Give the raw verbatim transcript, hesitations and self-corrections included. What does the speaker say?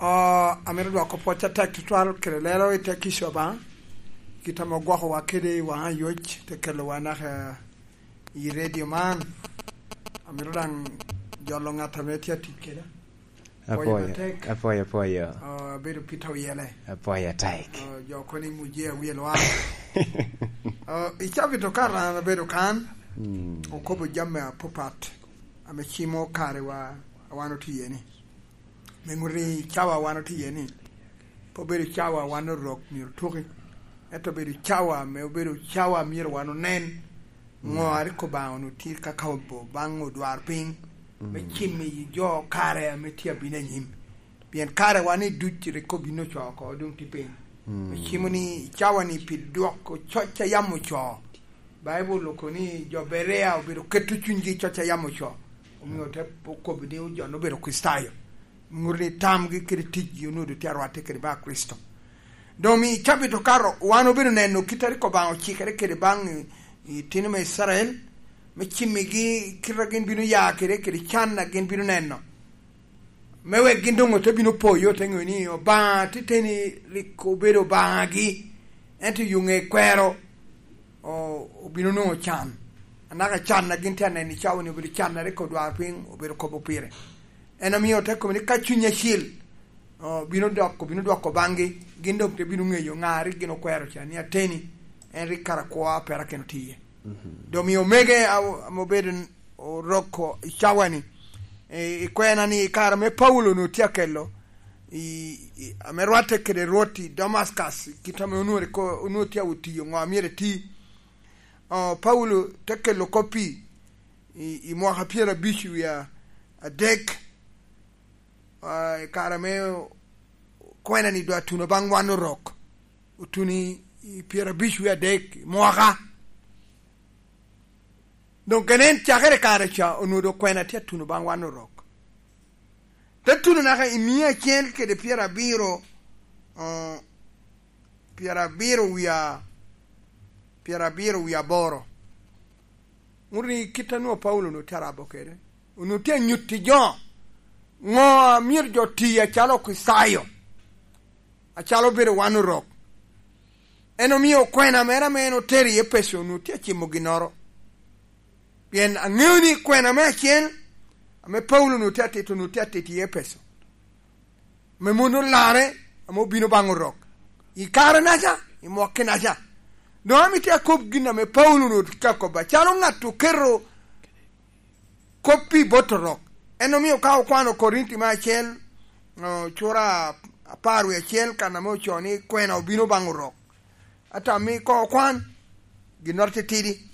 Oh, amito dwoko pwoc atek tutwal kede lelo i te kica Obaŋa, kit ame ogwokowa kede i waŋ ayoc, te kelowa naka i redio man. Amito daŋ jolo ŋat ame tye atic keda. Apwoyo, apwoyo, apwoyo. Oh, abedo Peter Oyele. Apwoyo atek. Oh, jo kono i Muje awiye lwar. Oh, i cabit okato an abedo kan, mm, okobo jami apapat ame cimo kare wa, a wan otye iye ni. Me ŋut i cawa wan otye iye ni, pe obedo cawa wan Orok myero otuki, ento obedo cawa ame obedo cawa myero wan onen ŋo a rik Obaŋa onwoŋo tye ka kobo baŋ odwarpiny, me cimo i jo kare ame tye abino anyim. Pien kare wan i duc rik obino ocoo oko, doŋ tye piny. Me cimo ni i cawa ni pi dwoko coc a yam ocoo. Baibul okobo ni jo Berea obedo keto cunygi i coc a yam ocoo, omio te okobo ni jo-nu obedo Kricitayo. Ŋut ni tamgi kede ticgi onwoŋo tye arwatte kede baŋ Kricito. Doŋ i cabit okato, wan obedo neno kit a rik Obaŋa ocikere kede baŋ i, i itino me Icrael, me cimmigi kit a gin bino ya kede, kede can a gin bino neno. Me wek gin doŋ ote bino poyo, ote ŋeo ni Obaŋa titeni rik obedo Obaŋagi, ento yo ŋe kwero o-, obino nwoŋo can. Anaka can a gin tye aneno i cawa ni obedo can a rik odwarpiny obedo kobo pire. En omio ote kobo ni ka cuny acil, o, bino dok, obino dwoko baŋgi, gin doŋ te bino ŋeyo ŋa rik gin okwero ca ni ateni, en rik kara kwo a perakino tye iye. Doŋ omio omege a-, ame obedo n-, Orok i cawa ni, i, i kwena ni, i kare ame Paulo onwoŋo tye akelo, i, i, ame rwatte kede Rwot i Damascus, kit ame onwoŋo rik o-, onwoŋo tye otiyo ŋo a myero eti. O, Paulo te kelo kop-pi i, i mwaka pyerabic wie adek, a, i kare ame kwena ni doŋ atuno baŋ wan Orok, otuno i, i pyerabic wie adek i mwaka. Doŋ kene en cakere kare ca onwoŋo doŋ kwena tye atuno baŋ wan Orok. Te tuno naka i mia acel kede pyerabiro, o, pyerabiro wie a-, pyerabiro wie aboro. Ŋut ni kit a nwoŋo Paulo onwoŋo tye arabo kede, onwoŋo tye anyutti jo ŋo a myero jo ti acalo Kricitayo, acalo obedo wan Orok. En omio kwena mere ame en otero i Epeco onwoŋo tye acimo ginnoro. Pien aŋeo ni kwena me acel ame Paulo onwoŋo tye atito, onwoŋo tye atito i Epeco, me mon olarre ame obino baŋ Orok i kare-naca, i mwakki-naca. Doŋ amito akob gin ame Paulo onwoŋo tye ka kobo, acalo ŋat oketo kop-pi bot Orok. En omio ka okwano Korinti me acel, o, cura apar wie acel, kan ame ocoo ni kwena obino baŋ Orok. Ata mi koŋ okwan ginnoro titidi.